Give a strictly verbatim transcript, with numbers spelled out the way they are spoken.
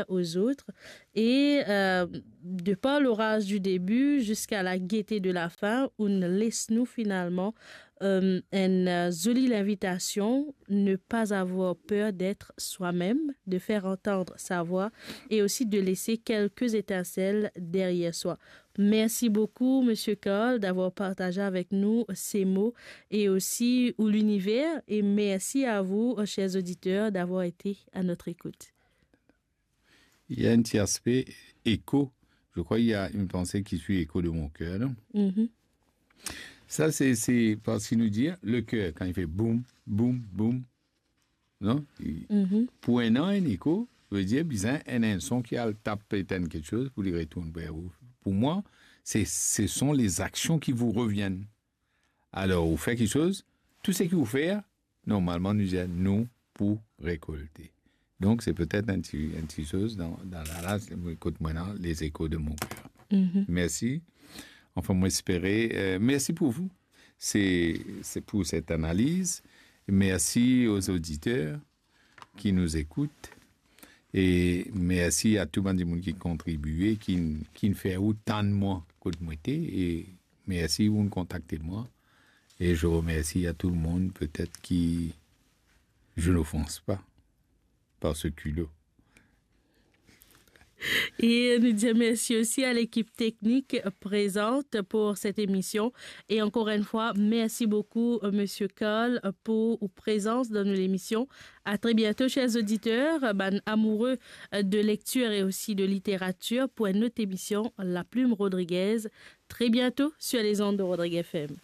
aux autres. Et euh, de par l'orage du début jusqu'à la gaieté de la fin, ou les nous finalement euh, une euh, jolie invitation, ne pas avoir peur d'être soi-même, de faire entendre sa voix et aussi de laisser quelques étincelles derrière soi. Merci beaucoup, Monsieur Carl, d'avoir partagé avec nous ces mots et aussi ou l'univers. Et merci à vous, chers auditeurs, d'avoir été à notre écoute. Il y a un petit aspect écho. Je crois qu'il y a une pensée qui suit écho de mon cœur. Non? Mhm. Ça, c'est, c'est parce qu'il nous dit, hein, le cœur, quand il fait boum, boum, boum, non? Il- Mhm. Pour un an, un écho, veut dire, bizin, un, un son qui a le tape, éteint quelque chose, pour lui retourner vers vous. Pour moi, c'est, ce sont les actions qui vous reviennent. Alors, vous faites quelque chose, tout ce que vous faites, normalman, nou dir nou pou rekolte. Donk, se petet enn ti, enn ti soz dan, dan la, la, kot mwa la, les échos de mon cœur. Mhm. Merci. Enfin, mwa espere, euh, merci pour vous. C'est, c'est pour cette analyse. Merci aux auditeurs qui nous écoutent. E mersi a tou bann dimoun ki kontribie, ki, ki fer ou tann mwa kot mwa ete, e mersi ou'nn kontakte mwa. Et je remercie à tout le monde, peut-être qui je n'offense pas par ce culot. Et nous disons merci aussi à l'équipe technique présente pour cette émission. Et encore une fois, merci beaucoup, euh, Monsieur Carl, pour votre présence dans l'émission. À très bientôt, chers auditeurs, bann amoureux, euh, de lecture et aussi de littérature, pour une autre émission, La Plume Rodriguez. Très bientôt sur les ondes de Rodriguez F M.